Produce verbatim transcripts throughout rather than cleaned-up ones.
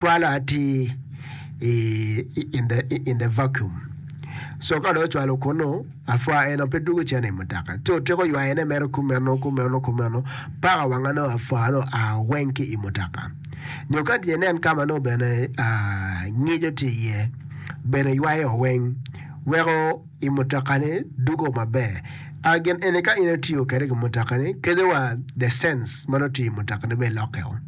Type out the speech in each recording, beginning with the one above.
Cwalo atir i in the vacuum so ka dong ocwalo kunu apwa eno pe dwogo cen i mutoka ci otyeko ywayone mere kumeno kumeno kumeno paka wanga nongo apwa nongo oa weng ki i mutoka nyo ka tye inen ka ma nongo bene ngico tye iye bene ywayo weng weko i mutoka-ni dwogo maber. A Gin eni ka in itiyo kwede ki mutoka-ni, kadi wa the sense ma nongo tye i mutoka-ni bene lokkeo.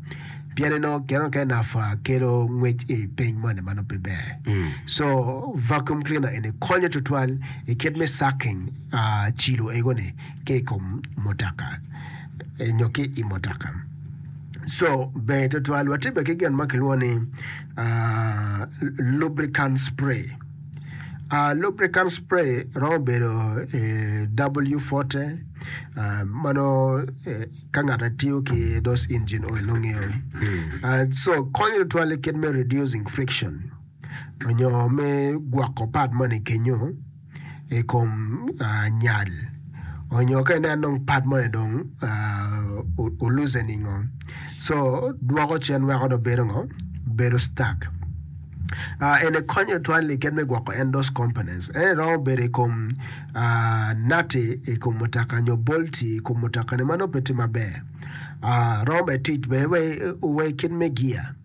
Pien inongo kine mukene nafa kelo ngwec i piny moni ma nongo pe ber. So vacuum cleaner eni konyo tutwal i kit me sucking cilo ego-ni ki i kom mutoka nyo ki i mutoka. So ber tutwal. Watye bene ki gin ma kilwongo ni lubricant spray. Lubricant spray romo bedo W forty ma nongo ka ngat atiyo ki those engine oil nongo ngeyo. So konyo tutwal i kit me reducing friction nyo me gwoko part moni kenyo i kom nyal onyo ka inen dong part moni dong o loosening o so dwoko cen weko dong bedo ngo bedo stuck. Eni konyo tutwal i kit me gwoko en those components. En romo bedo i kom nati i kom mutoka nyo bolti i kom mutoka ni ma nongo pe tye maber. Romo bene tic bene wa i kit me gia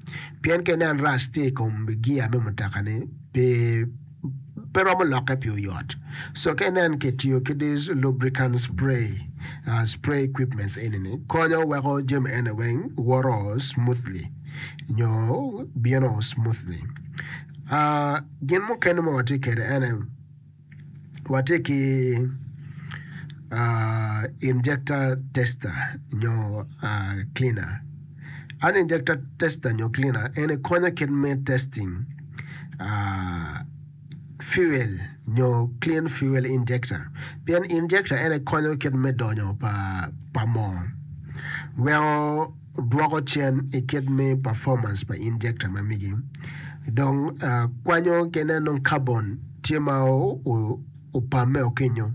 pien ka inen rust tye i kom gia me mutoka ni pi pe romo lokke pi oyot. So ka inen kitiyo ki these lubricant spray spray equipments eni ni konyo weko jami eni weng woto smoothly. Nyo bino smoothly. Gin mukene ma watye kwede ene, watye ki injector tester nyo cleaner. An injector tester nyo cleaner eni konyo kit me testing fuel nyo clean fuel injector pien injector ene konyo kit me donyo pa moo weko dwoko cen i kit me performance pa injector ma megi. Dong kwanyo ki inen dong carbon tye ma opamme o kenyo.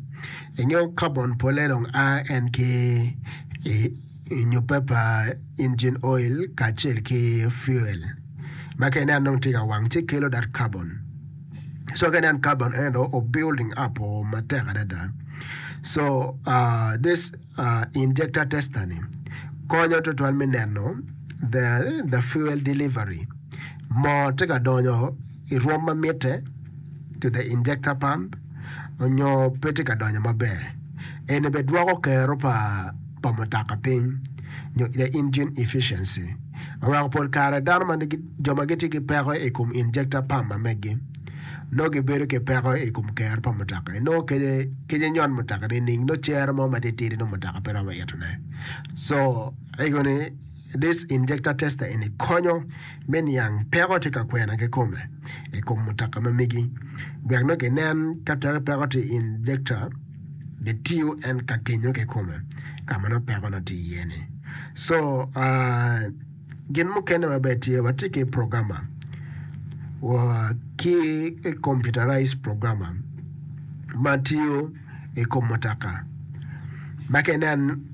Ingeyo carbon pole dong a en ki i nyupe pa engine oil kacel ki fuel ma ka inen dong tye ka wang ci kelo that carbon. So ka inen carbon ene dong o building up o matek adada. So this Injector tester ni konyo tutwal me neno the the fuel delivery moo tye ka donyo i rwom ma mitte to the injector pump onyo pe tye ka donyo maber eni bene dwoko kero pa pa mutoka piny nyo the engine efficiency oweko pol kare dano ma jo ma gitye ki peko i kom injector pump ma megi nongo gibedo ki peko i kom kero pa mutoka. Inongo kece kece nyon mutoka nining nongo cero mo matitidi nongo mutoka pe romo itone. So ego ni this injector tester eni konyo me niang peko tye ka kwena kikome i kom mutoka ma megi wek nongo kinen ka twero peko tye i injector gitiyo en ka kenyo kikome ka ma nongo peko nongo tye iye ni. So uh, Gin mukene maber tye, watye ki programmer ki computerized programmer ma tiyo i kom mutoka ma ka inen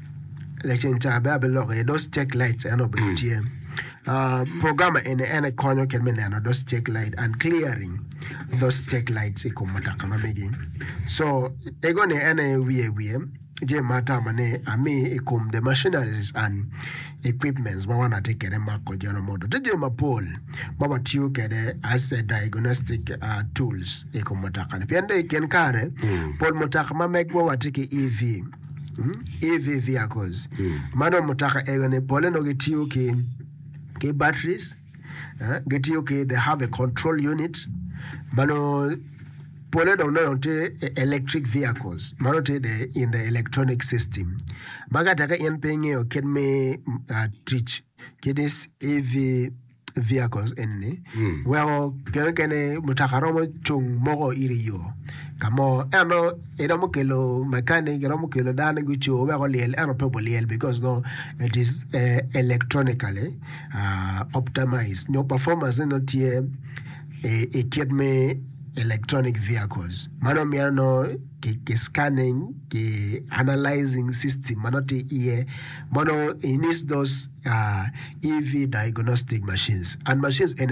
laceng ca bene abiloko iye those check lights en obedo tye. Programmer eni en aye konyo kit me neno those check light and clearing those check lights i kom mutoka ma megi. So ego ni en aye wiye wiye. Jami ma atamo ni ami i kom the machineries and equipments ma wan watye kwede mako General Motors. Tye jami mapol ma watiyo kwede as a diagnostic tools i kom mutoka ni pien dong i kin kare pol mutoka ma megwa watye ki E V, E V vehicles ma dong mutoka ego ni pole nongo gitiyo ki ki batteries gitiyo ki they have a control unit ma nongo Pole dong nongo tye electric vehicles ma nongo tye in the electronic system ma ka teke in pe ingeyo kit me tic ki this E V vehicles eni ni weko kine mukene mutoka romo cung moko iri i yo ka mo ento iromo kelo mechanic iromo kelo dano gucung wek olyel ento pe gulyel because nongo it is electronically optimized nyo performance ne nongo tye i kit me electronic vehicles mano myero nongo ki, ki scanning ki analyzing system ma nongo tye iye ma nongo it needs those uh, E V diagnostic machines and machines ene.